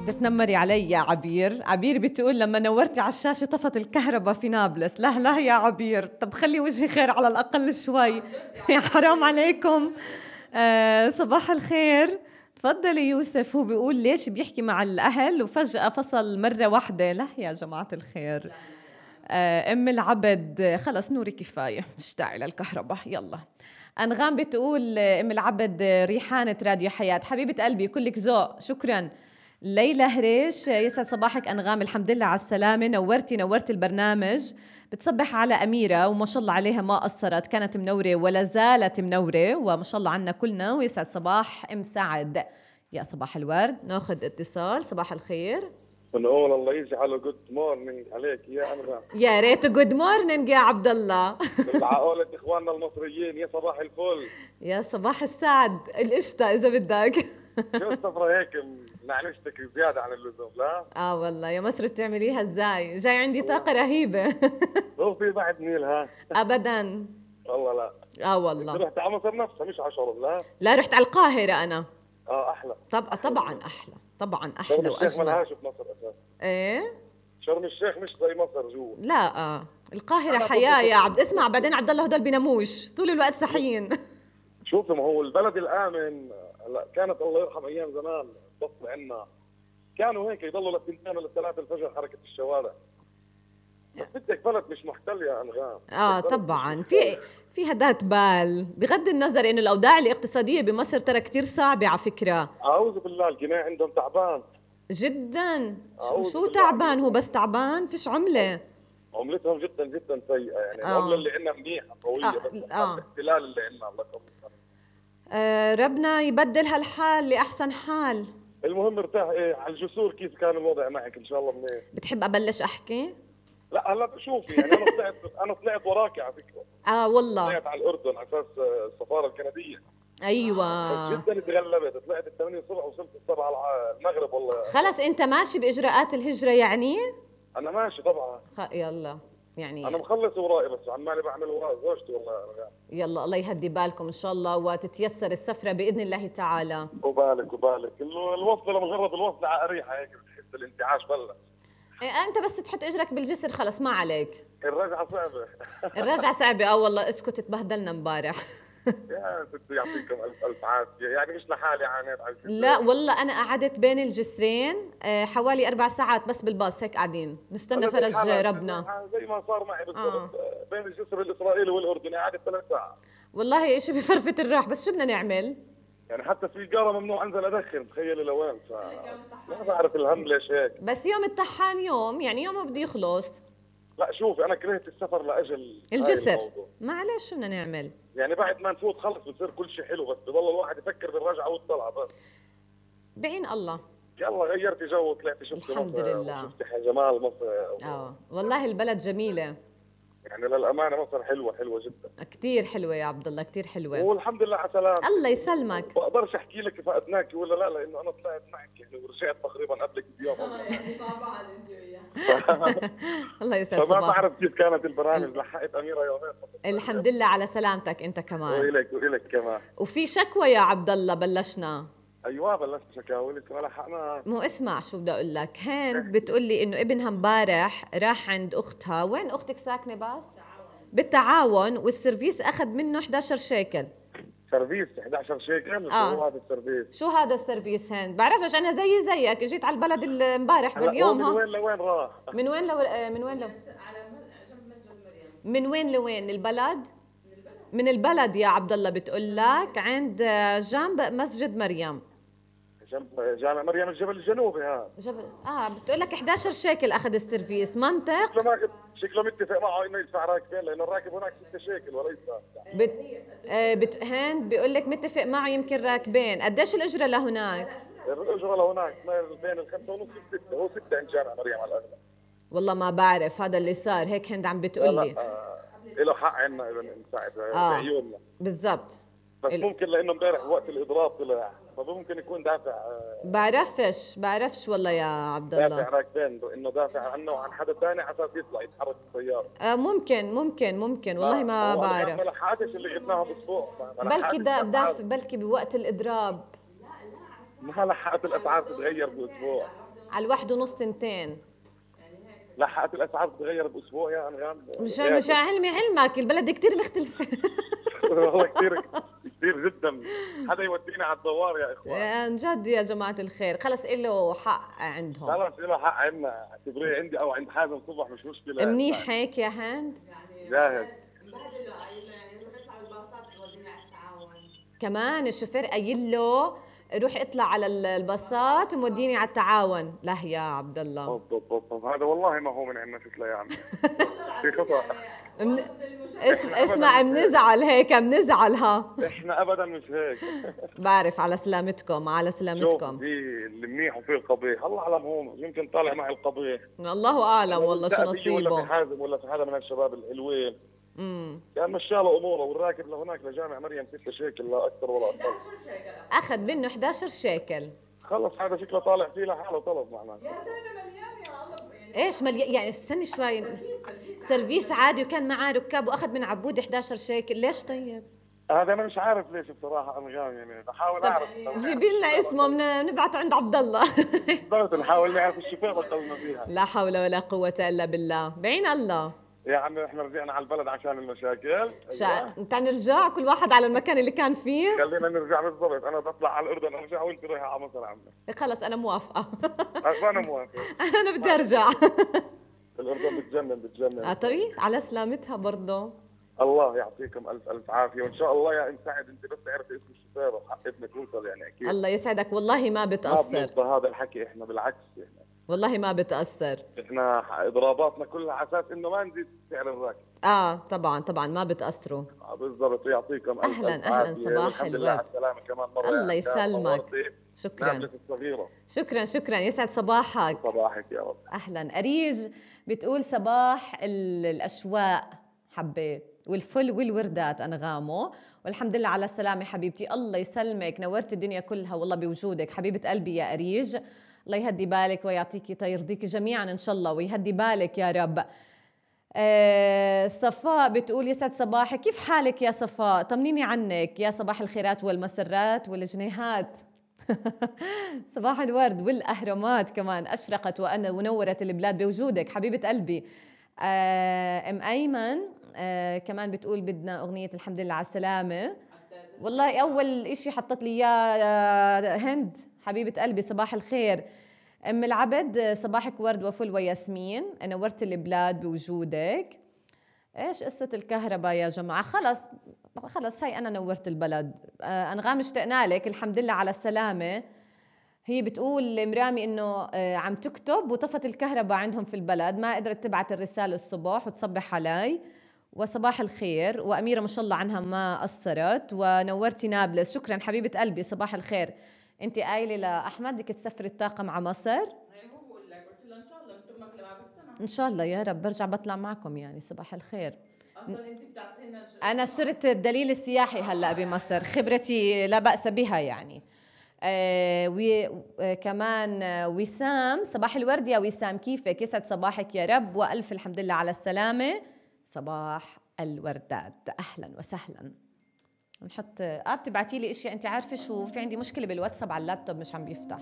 بتنمري علي يا عبير. عبير بتقول لما نورتي على الشاشة طفت الكهرباء في نابلس. لا لا يا عبير، طب خلي وجهي خير على الأقل شوي. يا حرام عليكم. صباح الخير. تفضلي يوسف. هو بيقول ليش بيحكي مع الأهل وفجأة فصل مرة واحدة. لا يا جماعة الخير. أم العبد خلص نوري كفاية، مش داعي للكهرباء. يلا. أنغام بتقول أم العبد ريحانة راديو حياة. حبيبة قلبي كلك ذوق، شكرا. ليلى هريش يسعد صباحك أنغام، الحمد لله على السلامة، نورتي البرنامج. بتصبح على أميرة وما شاء الله عليها ما قصرت، كانت منورة ولا زالت منورة وما شاء الله عنا كلنا. ويسعد صباح أم سعد. يا صباح الورد. ناخذ اتصال. صباح الخير. بنقول الله يجعله جود مورنينج عليك يا أنغام. يا ريت جود مورنينج يا عبد الله. بالعقولة إخواننا المصريين يا صباح الفل. يا صباح السعد القشطة إذا بدك. شو السفرة هيك نعنشتك زيادة عن اللزوم؟ لا والله يا مصر بتعمليها ازاي؟ جاي عندي طاقة رهيبة. هو في بعد نيل ها؟ أبدا والله لا. والله رحت على مصر نفسها مش على شرم؟ لا رحت على القاهرة أنا. أحلى. طبعا أحلى، طبعا أحلى شرم الشيخ وأجمل. ملهاش في مصر أساسا. إيه؟ شرم الشيخ مش زي مصر جوا. لا القاهرة حياة يا عبد. اسمع بعدين عبد الله هدول بيناموش طول الوقت صحيين. شوفي ما هو البلد الآمن. هلا كانت الله يرحم أيام زمان بطل عنا كانوا هيك يضلوا للثنتين ولا الثلاثة الفجر حركة الشوارع. بس بدك بلد مش محتل يا أنغام. طبعا في ذات بال. بغض النظر إنه الأوضاع الاقتصادية بمصر ترى كتير صعبة على فكرة. أعوذ بالله الجنيه عندهم تعبان جدا. شو تعبان؟ هو بس تعبان، فيش عملة. عملتهم جدا جدا سيئة يعني. العملة اللي عندنا منيحة قوية بس الاحتلال اللي عندنا الله يكرمك. ربنا يبدل هالحال لأحسن حال. المهم ارتاح. على الجسور كيف كان الوضع معك؟ ان شاء الله منيح. بتحب أبلش أحكي؟ لا هلا شوفي يعني انا طلعت وراكي على فكرة. والله طلعت على الأردن على أساس السفارة الكندية. أيوة جدا تغلبت. طلعت 8 الصبح وصلت 7 على المغرب. والله خلص أنت ماشي بإجراءات الهجرة يعني؟ أنا ماشي طبعا. يلا يعني أنا مخلص ورائي بس عمالي بعمل وراء زوجتي والله. يلا الله يهدي بالكم إن شاء الله وتتيسر السفرة بإذن الله تعالى. وبالك الوصل لمجرد الوصل على أريحة هيك بتحس الانتعاش بلش. أنت بس تحط إجرك بالجسر خلص ما عليك. الرجعة صعبة. الرجعة صعبة. والله اسكت تبهدلنا امبارح. يا ستي يعطيكم ألف عافية. يعني مش لحالي عانيت على الجسر. لا والله أنا قعدت بين الجسرين حوالي 4 ساعات بس بالباص هيك قاعدين نستنى فرج ربنا. زي ما صار معي بالضبط. بين الجسر الإسرائيلي والأردني قعدت 3 ساعات. والله إشي بفرفة الراح بس شو بدنا نعمل؟ يعني حتى السيجارة ممنوع أنزل أدخن. تخيلي لوين. ما بعرف الهم ليش هيك. بس يوم الطحان يوم يعني يوم بده يخلص. لا شوفي أنا كرهت السفر لأجل الجسر. معلش شو بدنا نعمل؟ يعني بعد ما نفوت خلص بصير كل شيء حلو بس بضل الواحد يفكر بالرجعة والطلعة بس. بعين الله. يلا غيرتي جو وطلعتي شفتي الحمد لله. شفتي جمال مصر. والله البلد جميلة. يعني للأمانة مصر حلوة جدا. كتير حلوة يا عبد الله كتير حلوة. والحمد لله على سلامة. الله يسلمك. بقدرش أحكي لك فقدناكي ولا لا لأنه أنا طلعت معك يعني ورجعت تقريبا قبلك بيوم. الله يسعد صباحك. فما بعرف كيف كانت البرامج. لحقت أميرة يومين. الحمد لله على سلامتك أنت كمان. وإلك كمان. وفي شكوى يا عبد الله بلشنا. ايوه بلشت شكاوي لسه ما لحقنا. مو اسمع شو بدي اقول لك. هند بتقول لي انه ابنها امبارح راح عند اختها. وين اختك ساكنه بس؟ بالتعاون. والسيرفيس اخذ منه 11 شيكل. سيرفيس 11 شيكل؟ شو هذا السيرفيس؟ شو هذا السيرفيس هند؟ بعرفش انا زيك اجيت على البلد امبارح باليوم. من وين لوين راح؟ من وين لوين البلد؟ من البلد يا عبد الله. بتقول لك عند جنب مسجد مريم. جنب جامع مريم الجبل الجنوبي هذا. بتقول لك 11 شيكل اخذ السيرفيس. منطق. شكله متفق معه انه يدفع راكبين لانه الراكب هناك 6 شيكل وليس. هند بيقول لك متفق معه يمكن راكبين. قديش الاجره لهناك؟ الاجره لهناك بين 5 ونص و6. هو 6 عند جامع مريم على الاغلب. والله ما بعرف هذا اللي صار. هيك هند عم بتقول لي. له حق عنا اذا نساعد بعيوننا. بالضبط. بس ممكن لانه امبارح وقت الاضراب طلع فممكن يكون دافع. بعرفش والله يا عبد الله. دافع راكبين انه دافع عنه وعن حدا ثاني على اساس يطلع يتحرك السياره. ممكن والله ما بعرف. ما لحقتش اللي جبناهم اسبوع. بلكي بوقت الاضراب. ما لحقت الاسعار تتغير باسبوع. على 1.5 2. لحقت الاسعار تتغير باسبوع يا انغام. مش علمك البلد كتير مختلفة. والله كثير كثير جدا. حدا يودينا على الدوار يا اخوان. عن جد يا جماعة الخير، خلص له حق عندهم. خلص له حق عندنا، اعتبريه عندي او عند حازم صبح مش مشكلة. منيح هيك يا هند؟ جاهز. كمان الشوفير قايل له روح اطلع على الباصات موديني على التعاون. لا يا عبد الله هذا والله ما هو من عندنا شكله يعني. في خطأ. اسمع بنزعل هيك بنزعل. ها احنا ابدا مش هيك. بعرف. على سلامتكم على سلامتكم. شوف دي المنيح وفي القبيح، الله اعلم هو يمكن طالع معي القبيح. الله اعلم والله شو نصيبه. ولا في حازم ولا في حدا من الشباب الحلوين. كان مشى له اموره والراكب لهناك لجامع مريم 6 شيكل لا اكثر ولا اقل. اخذ منه 11 شيكل. خلص هذا شكله طالع فيه لحاله طلب معناته. يا زلمه مليان يا الله. ايش مليان يعني؟ استني شوي. سيرفيس عادي وكان معاه ركاب واخذ من عبود 11 شيكل. ليش طيب؟ هذا انا مش عارف ليش بصراحه انغام يعني بحاول اعرف. جيبي لنا اسمه بنبعته عند عبد الله. بالضبط نحاول نعرف الشفاء بطلنا فيها. لا حول ولا قوة الا بالله. بعين الله يا عمي احنا رجعنا على البلد عشان المشاكل. انت نرجع كل واحد على المكان اللي كان فيه. خلينا نرجع بالضبط. انا بطلع على الاردن ارجع وانت رايحه على مصر عمي. خلص انا موافقة. انا موافق. انا بدي ارجع. الاردن بتجنن. طيب على سلامتها برضه. الله يعطيكم الف الف عافيه وان شاء الله يا سعد انت بس تعرفي اسم الشفاء وحق ابنك يوصل يعني اكيد. الله يسعدك. والله ما بتاثر. ما بنرضى هذا الحكي احنا بالعكس احنا. والله ما بتاثر. احنا اضراباتنا كلها على اساس انه ما نزيد سعر الراكب. طبعا ما بتاثروا. بالضبط. يعطيكم الف اهلا صباح الحمد لله على السلامه كمان مره. الله يسلمك. شكرا يسعد صباحك. صباحك يا رب. اهلا. اريج بتقول صباح الاشواق حبيت والفل والوردات انغامه والحمد لله على السلامه حبيبتي. الله يسلمك نورت الدنيا كلها والله بوجودك حبيبه قلبي يا اريج. الله يهدي بالك ويعطيكي يرضيكي جميعا ان شاء الله ويهدي بالك يا رب. صفاء بتقول يسعد صباحك. كيف حالك يا صفاء؟ طمنيني عنك. يا صباح الخيرات والمسرات والجنيهات. صباح الورد والأهرامات كمان أشرقت ونورت البلاد بوجودك حبيبة قلبي. أم أيمن كمان بتقول بدنا أغنية الحمد لله على السلامة. والله أول إشي حطت لي يا هند حبيبة قلبي صباح الخير. أم العبد صباحك ورد وفل وياسمين نورت البلاد بوجودك. إيش قصة الكهرباء يا جماعة؟ خلص هاي أنا نورت البلد. أنغام اشتقنا لك الحمد لله على السلامة. هي بتقول مرامي إنه عم تكتب وطفت الكهرباء عندهم في البلد ما قدرت تبعت الرسالة الصبح وتصبح علي وصباح الخير. وأميرة ما شاء الله عنها ما قصرت ونورتي نابلس. شكرا حبيبة قلبي صباح الخير. انت قايله لاحمد بدك تسافري الطاقم على مصر؟ هو بقول لك قلت له ان شاء الله بنتمك لبعض السنه ان شاء الله يا رب برجع بطلع معكم يعني صباح الخير. اصلا انت بتعطينا انا صرت الدليل السياحي هلا بمصر خبرتي لا باس بها يعني. كمان وسام صباح الورد يا وسام كيفك؟ يسعد صباحك يا رب والف الحمد لله على السلامه. صباح الوردات اهلا وسهلا. نحط بتبعتي لي اشياء انت عارفه شو في عندي مشكله بالواتساب على اللابتوب مش عم بيفتح.